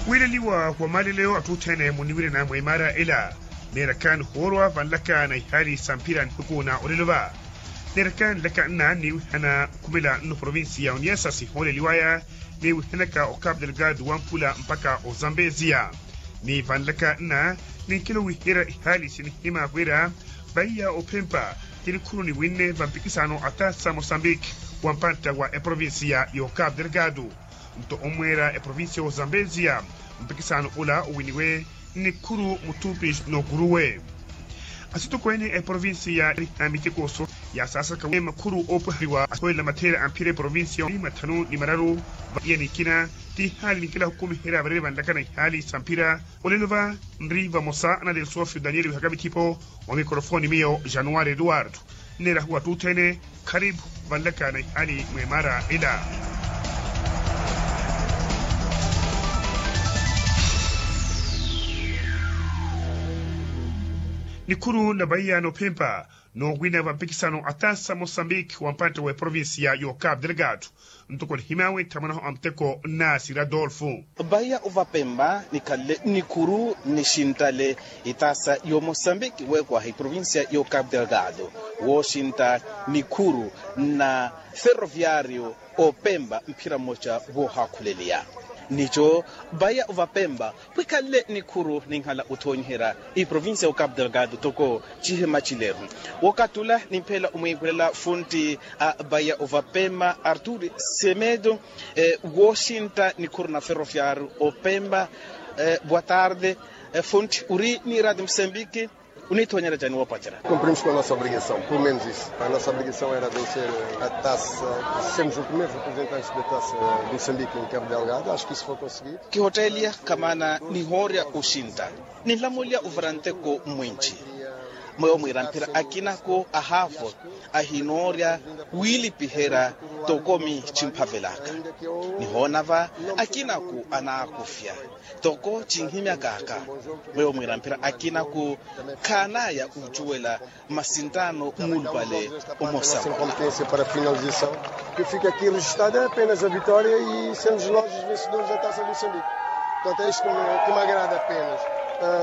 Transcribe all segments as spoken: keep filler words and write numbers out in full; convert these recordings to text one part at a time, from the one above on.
Wiileliwa wa maaleleyo atthu othene muniwirana mwa imaara ela. Neeraka nihoorwa vanlaka na ihaali sa mphira nihuku na olelo va. Neeraka nlaka nna niwihana okhumela nno provinsi ya oniasasi hooleliwaya, niwihanaka o cape delgado wampula mpaka ozambeziya. Ni vanlaka nna ninkelo wiherya ihaali sinihima wira vaiya ophempa ti nikhuru niwinne vampikisano a taasa mosambiki wa mpantta wa eprovinsiya y'ocape delgado. Nto omweera eprovinsiya y'ozambeziya mpikisano ula owiniwe nikhuru mutupi n'okuruwe. Asitokweene a eprovinsiya yaariha miteko so yaasaasaka wi makhuru oopweheriwa asowelela mattheela a mphira eprovinsiya ni mathanu ni mararu. Vaiya nikina ti ihaali ninkela hukumiherya vareri vanlaka na ihaali sa mphira. Olelo va nri vamosa na delsofio daniel wihaka mithipo. Wa mikorofoni miyo januwari eduwardo. Nneerahu atthu othene kharipu vanlaka na ihaali mwa emaara ela. Nikhuru na vaiya noophempa noowina vampikisano a taasa mosambiki wa mpantte wa eprovinsiya y'ocape delgado. Ntoko nihimawe nthamwanaho a muteko nnaasi radolfo. Vaiya ovapempa nikhanle nikhuru nixintale itaasa y'omosambiki weekwaha eprovinsiya y'ocape delgado wooxinta nikhuru na ferroviario opempa mphira mmoca voohaakhuleliya. Nico vaiya ovapempa vwikhanle nikhuru ninhala othoonyiherya eprovinsiya y'ocape delgado toko cihima cileru. Wookathi ula nimpheela omwiikulela funtti a vaiya ovapempa artur semedo wooxintta nikhuru na ferroviario opempa. Boa tarde. Funtti uri ni radio mosambiki unithoonyerya cani woopacerya? Cumprimos com a nossa obrigação pelo menos isso a nossa obrigação era vencer a taça. Sermos o primeiro representante da taça do moçambique em cabo delgado acho que isso foi conseguido. Kihotteeliya kamaana nihoorya oxintta. Ninlamulya ovara nteko mwinci. Mweyo mwiira mphira akinako ahaavo ahinoorya wiilipiherya tokomi cimphavelaka. Nihoona va akinako anaakufya toko cinhimyakaka. Mweyo mwiira mphira akinako khaanaya ocuwela masinttaano muulupale. Omosa wala. Para finalização que fica aqui registrada é apenas a vitória e sermos nós os vencedores da taça do moçambique. Portanto é isto que me agrada apenas.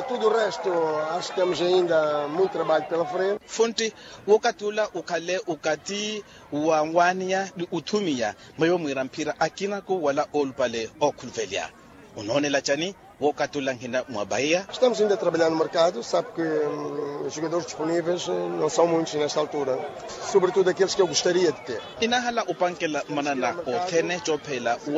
Tudo o resto acho que temos ainda muito trabalho pela frente. Funtti wookathi ula okhale okathi wa nwaaniya ni othumiya mweyo mwiira mphira akinako wala oolupale ookhuluvelya. Onoonela cani? Wookathi ula nhina mwa vaiya. Estamos ainda a trabalhar no mercado sabe que os jogadores disponíveis não são muitos nesta altura, sobretudo aqueles que eu gostaria de ter. Inahala opankela manana othene cophela.